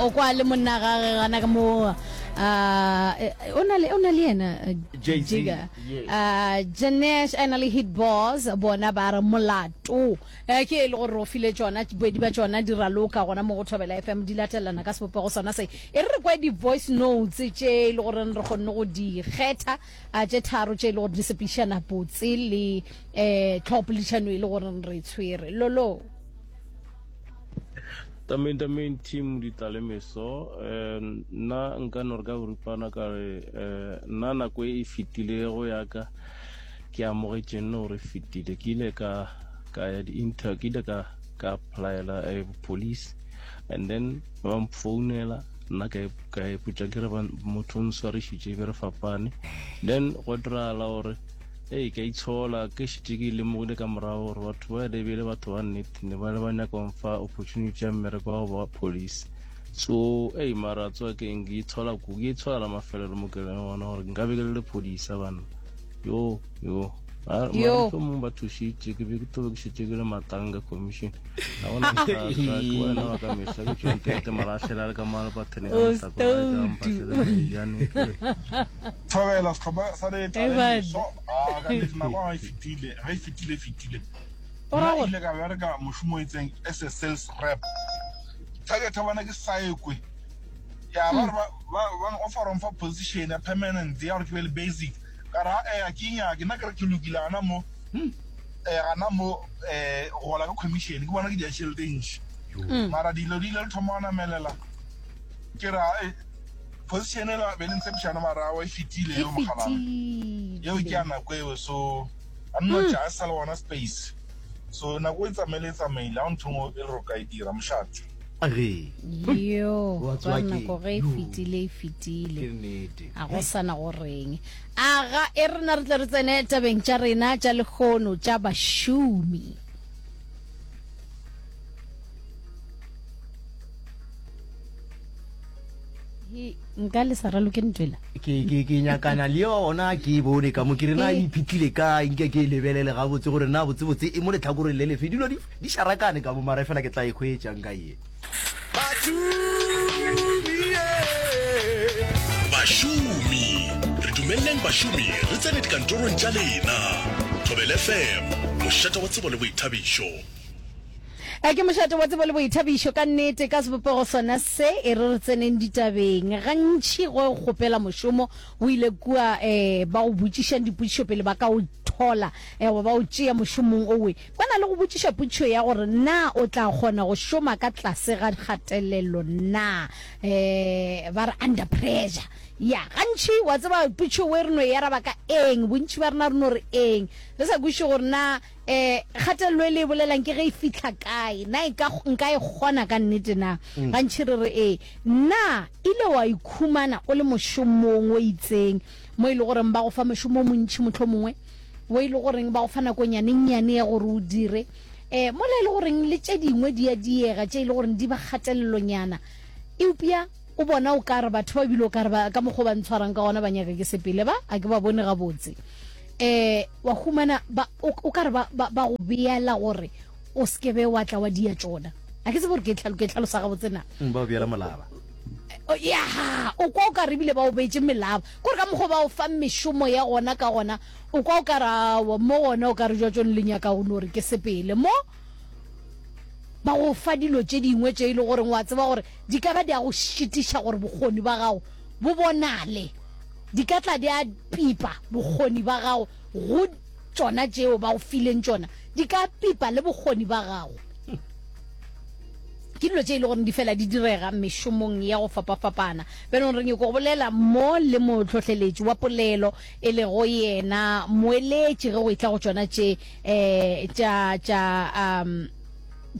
O kwa le monna gage gana ka mo uh, o na le o na le yena eh, Jay-Z, Jigga. yes. Uh, Janesh a na le Hit Boss bona ba re molato eh, ke e le gore re o file tšona bobedi ba tšona di raloka gona mo go Thobela FM di latelana ka sebopego sona se e re re kwe di-voice notes tše e le gore re kgonne go di kgetha a tše tharo tše e le gore di sepedišana botse le um tlhogopoledišano e le gore re e tshwere lolo Tameng tameng team ditla le meso um nna nka no re ka boripana ka re um nna nako e e fetilego ya ka ke amogetše nne gore e fetile ke ile ka ka ya di-inter ke ile ka ka applyela eh, police and then ba mfounela nna ka ka ipotša ke re motho o nswarišitše be re fapane then go diragala gore ee ka itshola ke šetše ke lemogile ka morago gore batho ba lebele batho ba nnete ne ba le ba nyaka mfa opportunity ya mmereko wa go ba police so ei mara tsoa ke eng ke itshola ku ke itshola la mafelelo mo ke leng gona gore nka be ke le lephodisa banna yo yo Yo. mohlomong ba thušitše ke be ke tobe ke šetše ke le matanga commission ga gona bothata ke wena wa ka mehla ke tšontete malahlela le ka malapatheneng O a mohlako gae ka mpahlele maijane Thobela sehlopha sa Hey, Letla le bud. Meso. Ah, ka nnete nako ga e fetile, ge e fetile e fetile. O ra Nna gore ile ka bereka mošomo o itseng as a sales rep. Target ya bona ke saekwe. Ya ba re ba ba ba offer mfa position ya permanent ya gore ke be le basic. Ka re a ke nyake nna ke re ke lokile gana mo eh gana mo eh gola ka commission ke bona ke dia tšhelete e ntši. Mara dilo di ile le thoma go namelela ke ra eh, position ela be le ntshepišana mara awa e fetile e yeo mogalana yeo ke ya fetile nako eo so a nno tša a sa le gona space so nako e tsamaile e tsamaile ga ntho ngwe e le gore o ka e dira mošate Ge. yo Wa ba tseba ke nako ge e yo. fetile e fetile Ke nnete. a go sana go reng aga e rena re tle re tsene tabeng tša rena tša lekgono tša bašomi He, nka le sa raloke ntwela ke ke ke nyakana le yona ke e bone ka mo ke re na e iphitlhile kae nke ke e lebelele gabotse gore na botsebotse e mo letlhakoreng le lefe dilo di di šarakane ka mo mara fela ke tla e hwetša nka ye Bašomi, re dumeleleng bašomi re tsene dikantorong tša lena. Thobela FM, mošate wa tsebo le boithabišo. A ke mošate wa tsebo le boithabišo ka nnete ka sebopego sona se e re re tseneng ditabeng. Gantši go o kgopela mošomo o ile kua um ba go botšišang dipotšišo pele ba ka o thola um goba ba o tšea mošomong owe. Ba na le go botšiša potšišo ya gore na o tla kgona go šoma ka tlase ga kgatelelo na, um ba re under pressure. Ya, gantši wa tseba potšišo we re no e araba ka eng, bontši ba rena re no re eng, re sa kwešiše gore na E, kgatelelo e le e bolelang ke ge e fihla kae? Na e ka, nka e kgona ka nnete na? Gantši re re ee. Na ile wa ikhumana o le mošomong o itseng mo e le goreng ba go fa mošomo o montši mohlomongwe, wo e le goreng ba go fa nakonyanennyane ya gore o dire, e, mola e le goreng le tše dingwe di a diega tše e le goreng di ba kgatelelonyana, eupša o bona o ka re batho ba ebile o ka re ba, ka mokgwa o ba ntshwarang ka gona ba nyaka ke sepele, ba a ke ba bone gabotse. eh wa humana ba o ka re ba ba go beela gore o se be wa tla wa dia tšona a ke tsebe gore ke tlhalo ke tlhalosa gabotse na mm, ba o beela molaba ya o kwa o ka re ebile ba o beetse melaba kore ka mokgwa ba o fa mešomo ya gona ka gona o kwa o ka re awa mo gona o ka re jwa tsone le nyaka go no re ke sepele mo ba go fa dilo tše dingwe tše e le goreng wa tseba gore di ka ba di a go šitiša gore bokgoni ba gago bo bonale Di ka tla di a pipa bokgoni ba gago go tšona tšeo ba go fileng tšona, di ka pipa le bokgoni ba gago. Ke dilo tše e le gore di fela di direga mešomong ya go fapafapana. Bjanong re nyoko go bolela mo le mohlohleletši wa polelo e lego yena moeletši ge go etla go tšona tše um tša tša um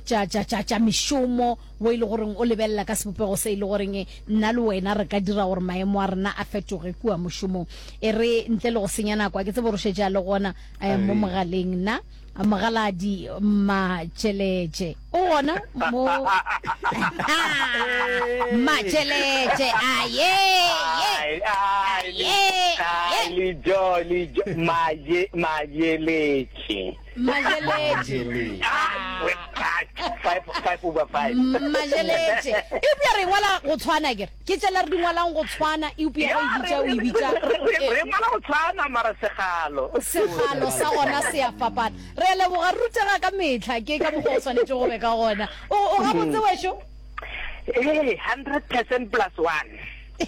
tša tša tša tša mešomo wo e le goreng o lebelela ka sebopego se e le goreng nna le wena re ka dira gore maemo a rena a fetoge kua mošomong. E re ntle le go senya nako, a ke tsebe gore o šetše a le gona eh, mo mogaleng na Mogaladi Matšeletše o gona mo Matšeletše a ye ye. Ai, ai, Ye, ai, ye. lijo, lijo, maje, majeletše. Majeletše. Ah, we- ah, 5 5 over 5. Majeletše. Eupša re ngwala go tshwana kere. Ke tšela re di ngwalang go tshwana eupša ge o e bitša o e bitša Re ngwala go tshwana mara segalo. Segalo sa gona se a fapana. Re a leboga, re rutega ka mehla. Ke ka mokgwa o swanetše go be ka gona. O o gabotse wešo? Ee, 100% plus one. E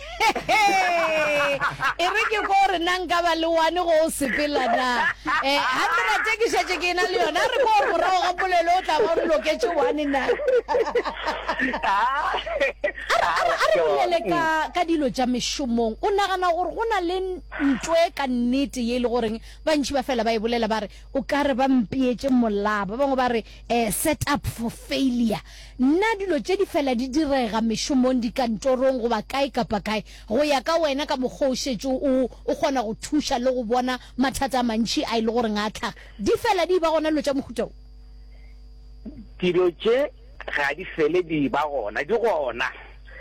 re ke ko gore na nka ba le one go o sepela na. Eh, 100 ke šetše ke na le yona. Re ko gore morago ga polelo o tla ba o loketše one na. A re bolele ka ka dilo tša mešomong. O nagana gore go na le ntwe ka nnete ye e le goreng bantši ba fela ba e bolela ba re o ka re ba mpeetše molaba. Ba bangwe ba re eh, set up for failure. Na dilo tše di fela di direga mešomong, dikantorong goba kae kapa kae? Go ya ka wena ka mokgwa o šetše o o kgona go thuša le go bona mathata a mantši a e le goreng a tlhaga, di fela di eba gona dilo tša mohuta wo? Dilo tše ga di fele di eba gona, di gona.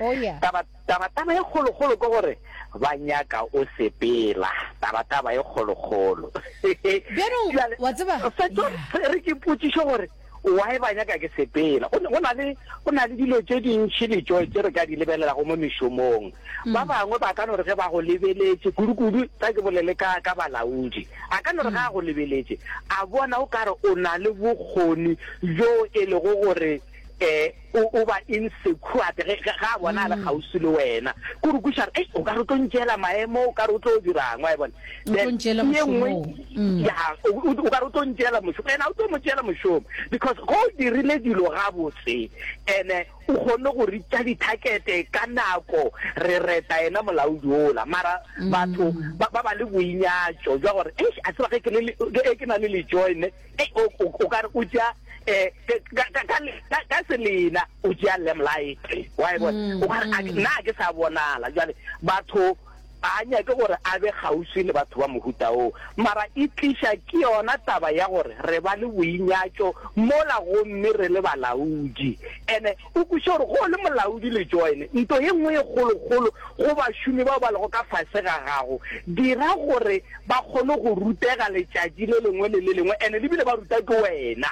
Oh yeah. Taba, taba, taba e kgolokgolo ke gore ba nyaka o sepela. Taba, taba e kgolokgolo. Bjanong, Bjale, wa tseba, fetso, yeah. re ke potšišo gore Why ba nyaka ke sepela? Go, go na le, go na le dilo tše dintši le tšo tše re ka di lebelelago mo mešomong. Ba bangwe ba ka no re ge ba go lebeletše, kudu-kudu tla ke bolele ka, ka balaodi, a ka no re ge a go lebeletše, a bona o ka re o na le bokgoni bjo e lego gore um o, o ba insecure ge, ge, ge a bona a le kgauswi le wena. Ke gore o kwešiša gore, Ei, o ka re o tlo ntšeela maemo, o ka re o tlo dirang, wa e bona? O tlo ntšeela Ye nngwe, mošomo. Mm. ya, o, o, o ka re o tlo ntšeela mošomo. And a o tlo mo tšeela mošomo because ge o dirile dilo gabotse and o kgonne go reacha di-target ka nako, re reta yena molaodi ola. Mara batho ba, ba ba le boinyatšo jwa gore, eish, a tseba ge ke le, ge ke na le lejoine, ei, o, o, o ka re o tšea eh, ka, ka, ka, ka, ka selena o tšea limelight. Wa e bona? O ka re, a ke- nna ga ke sa bonala. Jwale batho Ga a nyake gore a be kgauswi le batho ba mohuta woo. Mara e tliša ke yona taba ya gore re ba le boinyatšo mola gomme re le balaodi. Ene o kweše gore ge o le molaodi le join nto ye nngwe ye kgolokgolo go bašomi bao ba lego ka fase ga gago, dira gore ba kgone go rutega letšatši le lengwe le le lengwe ene le bile ba ruta ke wena.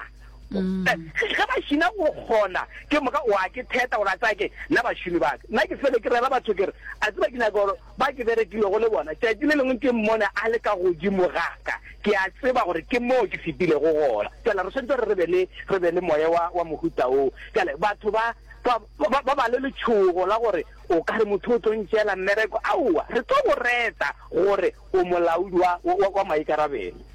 Ge ba šina go kgona, ke moka wa ke theta gore a tsaya ke nna bašomi ba ka. Nna ke fele ke rera batho ke re, a tseba ke nyaka gore ba ke berekilego le bona, tšatši le lengwe ke mmone a le ka godimo ga ka, ke a tseba gore ke moo ke fetilego gona. Bjale re swanetše gore re be le, re be le moya wa, wa mohuta woo. Bjale batho ba, ba, ba, ba ba le letšhogo la gore o ka re motho o tlo ntšeela mmereko. Aowa, re tlo go reta gore o molaodi wa, wa, wa maikarabelo.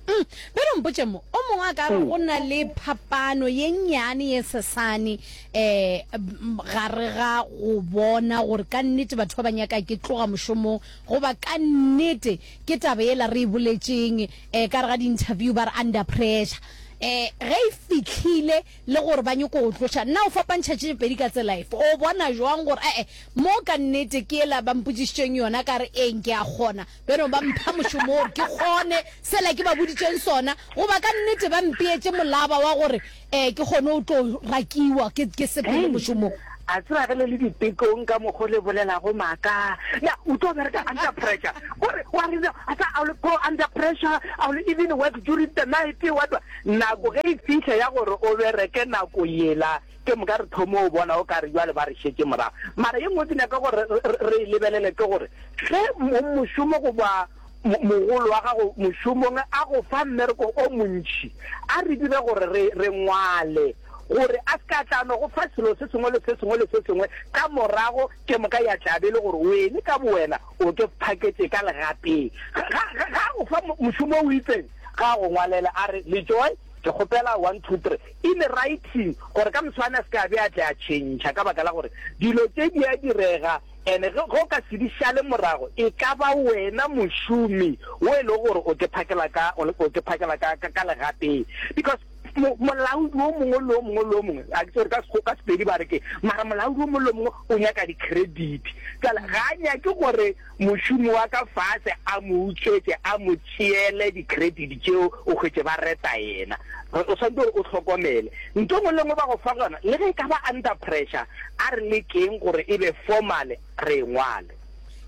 Mm, bjale mpotše mo, o mongwe a ka re go na le phapano ye nnyane ye sesane um gare ga go bona gore ka nnete batho ba ba nyaka ke tloga mošomong goba ka nnete ke taba yela re e boletšeng um ka re ga di-interview ba re under pressure um ge e fihlile le gore ba nyoko go tloša. Na o fapantšha tše pedi ka tsela efe? O bona jwang gore e-e mo ka nnete ke yela ba mpotšišitšeng yona ka re eng ke a kgona Bjalo ba mpha mošomo gore ke kgone sela ke ba boditšeng sona, goba ka nnete ba mpeetše molaba wa gore um ke kgone go tlo rakiwa ke, ke sepele mošomong. A tseba ge le le ditekong ka mokgo le bolelago maaka. Na o tlo bereka under pressure? Kore wa re a tsa I will go under pressure, I will even work during the night, what what. Nako ge e fihla ya gore o bereke nako yela, Ke moka re thome go bona o ka re bjale ba re šetše morago. Mara ye nngwe ke nyaka gore re e lebelele ke gore ge mongmošomo goba mogolo wa gago mošomong a go fa mmereko o montši, a re dire gore re re ngwale gore a se ka tla no go fa selo se sengwe le se sengwe le se sengwe ka morago ke moka ya tla be e le gore wene ka bowena o ke phaketše ka legapeng. Ga a go fa mošomo o itseng, ga a go ngwalele a re Lejoe ke kgopela one two three in writing gore ka moswane a se ke a be a tle a tšhentšha ka baka la gore dilo tše di a direga and ge o ka se di šale morago e ka ba wena mošomi wo e lego gore o ke phakela ka o ke phakela ka ka legateng because molaodi o mongwe le o mongwe le o mongwe a ke tsore ka ka Sepedi ba re ke mara molaodi o mongwe le o mongwe o nyaka di-credit jale ga a nyake gore Mošomi wa ka fase a mo utswetše, a mo tšeele di-credit tšeo, o hwetše ba reta yena. O swanetše gore o hlokomele. Ntho e nngwe le e nngwe ba go fa yona, le ge e ka ba under pressure, a re lekeng gore e be formal, re e ngwale.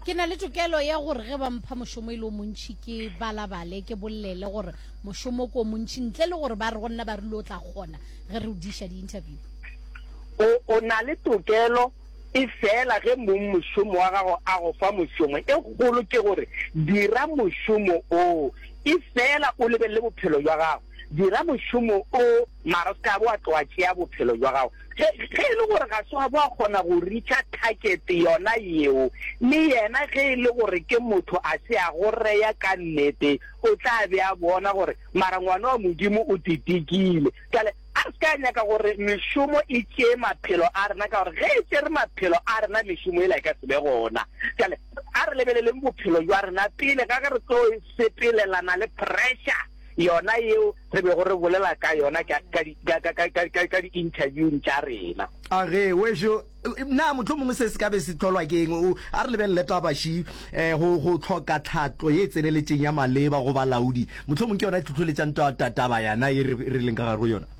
Ke na le tokelo ya gore ge ba mpha mošomo e le o montši ke balabale, ke bolele gore mošomo ke o montši ntle le gore ba re go nna ba rile o tla kgona ge re o diša di-interview. O, o na le tokelo, efela ge mongmošomo wa gago a go fa mošomo, e kgolo ke gore dira mošomo oo, efela o lebelele bophelo bja gago. Dira mošomo o, mara o se ka ba wa tloga tšea bophelo bja gago. Ge, ge e le gore ga se wa ba wa kgona go reacha target yona yeo, le yena ge e le gore ke motho a se a go reya ka nnete, o tla be a bona gore mara ngwana wa Modimo o titikile. Bjale a re se ka nyaka gore mešomo e tšee maphelo a rena, ka gore ge e tšere maphelo a rena mešomo yela e ka se be gona. Bjale a re lebeleleng bophelo bja rena pele ga ge re tlo sepelelana le pressure yona yeo re bego re bolela ka yona ka, ka, ka, ka, ka, ka, ka di-interviewng tša rena. A ge, wešo, na mohlomongwe se se ka be se hlolwa ke eng? O, a re lebelele taba še, eh, go, go hloka tlhahlo ye e tseneletšeng ya maleba go balaodi, mohlomongwe ke yona e hlohleletšang ta, ta, taba yana ye re, re leng ka gare go yona.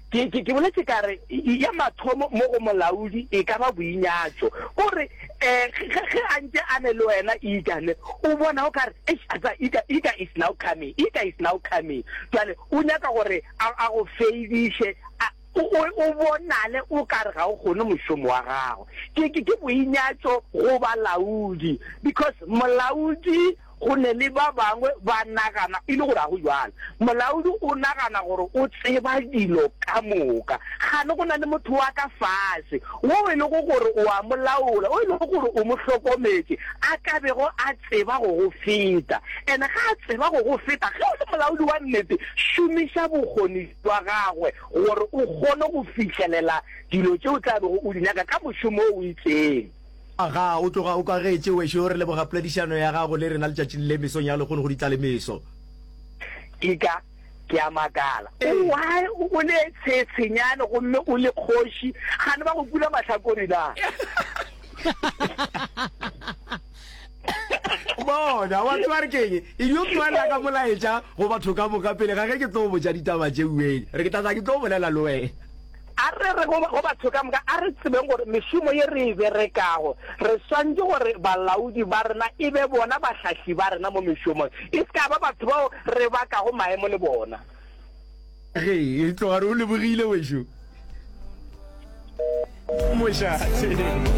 Ke, ke, ke boletše ka re, ya mathomo mo go molaodi e ka ba boinyatšo. Ko re, eh, ge, ge a ntše a ne le wena, Ika, ne, o bona o ka re, Eish, a tseba, Ika, Ika is now coming, Ika is now coming. Bjale o nyaka gore a, a go feidiše, a, o, o, o bonale o ka re ga o kgone mošomo wa gago. Ke, ke, ke boinyatšo go balaodi, because molaodi Go ne le ba bangwe ba nagana e le gore ga go bjalo. Molaodi o nagana gore o tseba dilo ka moka. Kgane go na le motho wa ka fase wo e lego gore o a mo laola, wo e lego gore o mo hlokometše, a ka bego a tseba go go feta. And-e ge a tseba go go feta, ge o le molaodi wa nnete, šomiša bokgoni bja gagwe gore o kgone go fihlelela dilo tše o tla bego o di nyaka ka mošomo wo o itseng. Agaa, o tloga o kwagetše, wešo. Re leboga poledišano ya gago le rena letšatšing le mesong ya lehono go Ditlalemeso. Eka ke a makala. O why o le tshetshenyane gomme o le kgoši, gane ba go pula mahlakore na? Bona, wa tseba re keng? E dio tlohela ka molaetša go batho ka moka pele ga ge ke tlo botša ditaba tše ueng. Re ke tla tla ke tlo bolela le wena. A re re go, go batho ka moka, a re tsebeng gore mešomo ye re e berekago, re swanetše gore balaodi ba rena e be bona bahlahli ba rena mo mešomong, e se ka ba batho bao re bakago maemo le bona. Ge, re tloga re o lebogile, wešo. Mošate.